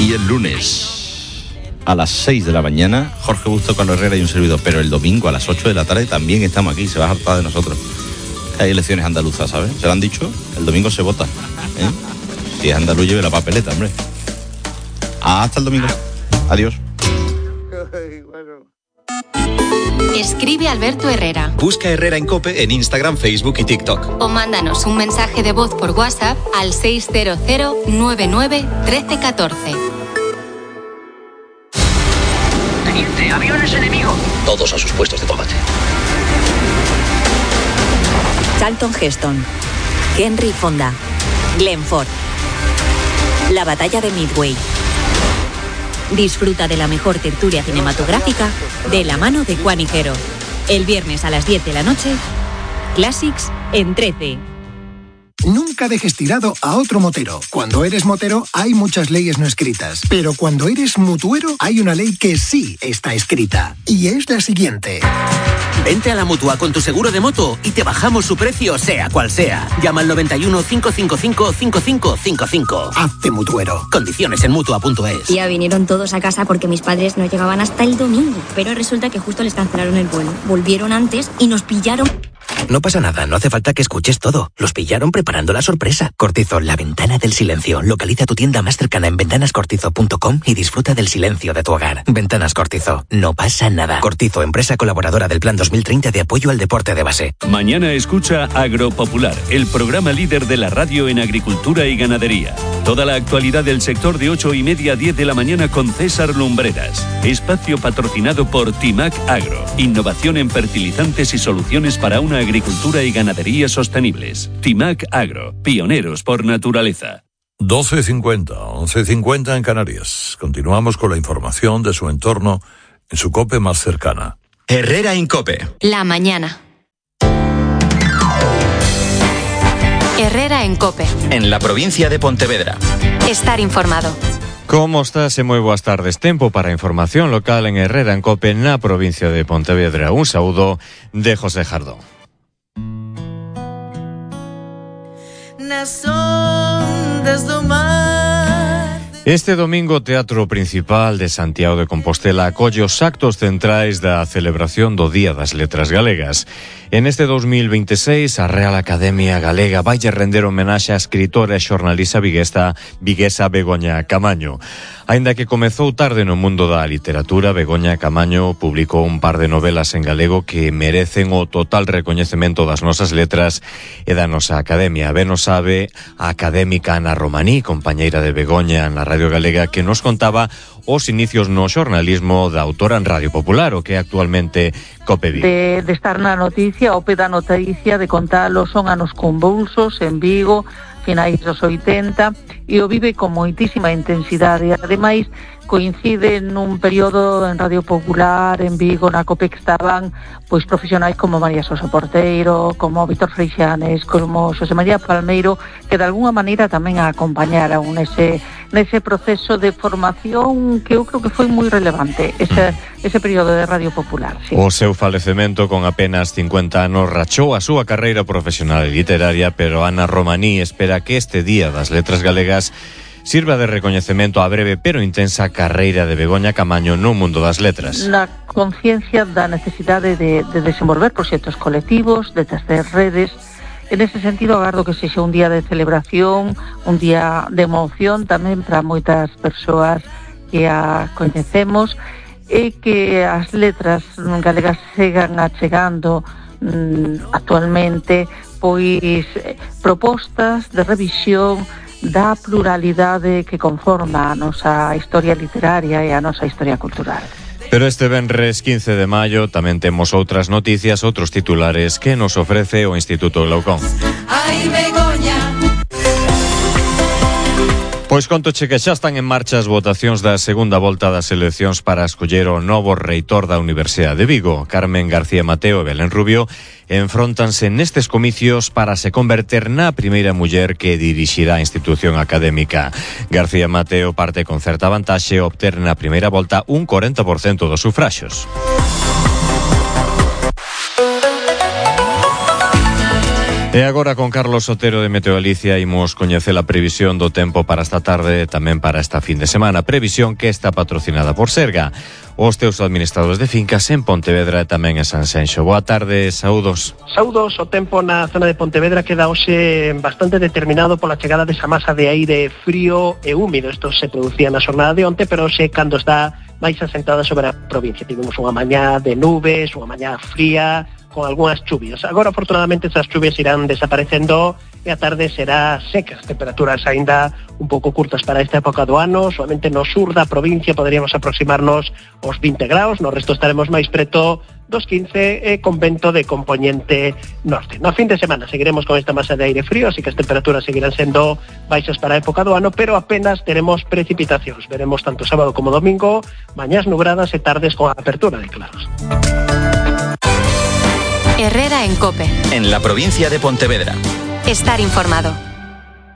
Y el lunes a las 6 de la mañana, Jorge Busto, Carlos Herrera y un servidor. Pero el domingo a las 8 de la tarde también estamos aquí. Se va a hartar de nosotros. Hay elecciones andaluzas, ¿sabes? Se lo han dicho, el domingo se vota. Si es andaluz, lleve la papeleta, hombre. Hasta el domingo. Adiós. Escribe Alberto Herrera. Busca Herrera en COPE en Instagram, Facebook y TikTok. O mándanos un mensaje de voz por WhatsApp al 600 99 1314. Teniente, aviones enemigos. Todos a sus puestos de combate. Charlton Heston, Henry Fonda, Glenn Ford. La batalla de Midway. Disfruta de la mejor tertulia cinematográfica de la mano de Juan Higuero. El viernes a las 10 de la noche, Classics en 13. Nunca dejes tirado a otro motero. Cuando eres motero hay muchas leyes no escritas, pero cuando eres mutuero hay una ley que sí está escrita, y es la siguiente. Vente a la Mutua con tu seguro de moto y te bajamos su precio sea cual sea. Llama al 91 555 5555. Hazte mutuero. Condiciones en Mutua.es. Ya vinieron todos a casa porque mis padres no llegaban hasta el domingo, pero resulta que justo les cancelaron el vuelo. Volvieron antes y nos pillaron. No pasa nada, no hace falta que escuches todo. Los pillaron preparando la sorpresa. Cortizo, la ventana del silencio. Localiza tu tienda más cercana en ventanascortizo.com y disfruta del silencio de tu hogar. Ventanas Cortizo, no pasa nada. Cortizo, empresa colaboradora del Plan 2030 de apoyo al deporte de base. Mañana escucha Agropopular, el programa líder de la radio en agricultura y ganadería. Toda la actualidad del sector de 8:30 a 10 de la mañana con César Lumbreras. Espacio patrocinado por Timac Agro. Innovación en fertilizantes y soluciones para una agricultura y ganadería sostenibles. Timac Agro, pioneros por naturaleza. 12:50, 11:50 en Canarias. Continuamos con la información de su entorno en su COPE más cercana. Herrera en COPE. La mañana. Herrera en COPE. En la provincia de Pontevedra. Estar informado. Como estás? Moi boas tardes. Tempo para información local en Herrera en COPE na provincia de Pontevedra. Un saúdo de José Jardón. Nas ondas do mar. Este domingo o Teatro Principal de Santiago de Compostela acolle os actos centrais da celebración do Día das Letras Galegas. En este 2026, a Real Academia Galega vai render homenaxe á escritora e xornalista viguesa Begoña Camaño. Aínda que comezou tarde no mundo da literatura, Begoña Camaño publicou un par de novelas en galego que merecen o total recoñecemento das nosas letras e da nosa academia. Ben o sabe a académica Ana Romaní, compañeira de Begoña na Radio Galega, que nos contaba os inicios no xornalismo da autora en Radio Popular, o que é actualmente COPE Vigo. De estar na noticia, o pé da noticia, de contalo, son anos convulsos en Vigo, finais dos 80, e o vive con moitísima intensidade. Ademais, coincide nun período en Radio Popular, en Vigo, na COPE, que estaban pois profesionais como María Sosa Porteiro, como Víctor Freixanes, como Xosé María Palmeiro, que de alguna maneira tamén a acompañaron nese proceso de formación que eu creo que foi moi relevante, ese período de Radio Popular. Sí. O seu falecemento con apenas 50 anos rachou a súa carreira profesional e literaria, pero Ana Romaní espera que este Día das Letras Galegas sirva de recoñecemento á breve pero intensa carreira de Begoña Camaño no mundo das letras. Na conciencia da necesidade de desenvolver proxectos colectivos, de tecer redes. En ese sentido, agardo que sexa un día de celebración, un día de emoción tamén para moitas persoas que a coñecemos, e que as letras galegas sigan achegando actualmente pois propostas de revisión da pluralidade que conforma a nosa historia literaria e a nosa historia cultural. Pero este venres 15 de maio tamén temos outras noticias, outros titulares que nos ofrece o Instituto Glaucón. Ai, Begoña. Pois contoche que xa están en marcha as votacións da segunda volta das eleccións para escoller o novo reitor da Universidade de Vigo. Carmen García Mateo e Belén Rubio enfróntanse nestes comicios para se converter na primeira muller que dirixirá a institución académica. García Mateo parte con certa vantaxe a obter na primeira volta un 40% dos sufraxos. E agora con Carlos Otero de Meteo Galicia imos coñecer a previsión do tempo para esta tarde e tamén para esta fin de semana. Previsión que está patrocinada por Serga, os teus administradores de fincas en Pontevedra e tamén en Sanxenxo. Boa tarde, saúdos. Saúdos, o tempo na zona de Pontevedra queda hoxe bastante determinado pola chegada desa masa de aire frío e húmido. Isto se producía na xornada de onte, pero hoxe cando está máis asentada sobre a provincia. Tivemos unha mañá de nubes, unha mañá fría, con algunhas chuvias. Agora, afortunadamente, esas chuvias irán desaparecendo e a tarde será seca. As temperaturas aínda un pouco curtas para esta época do ano. Solamente no sur da provincia poderíamos aproximarnos aos 20 graus. No resto estaremos máis preto dos 15 e con vento de compoñente norte. No fin de semana seguiremos con esta masa de aire frío, así que as temperaturas seguirán sendo baixas para a época do ano, pero apenas teremos precipitacións. Veremos tanto sábado como domingo, mañás nubradas e tardes con apertura de claros. Herrera en COPE. En la provincia de Pontevedra. Estar informado.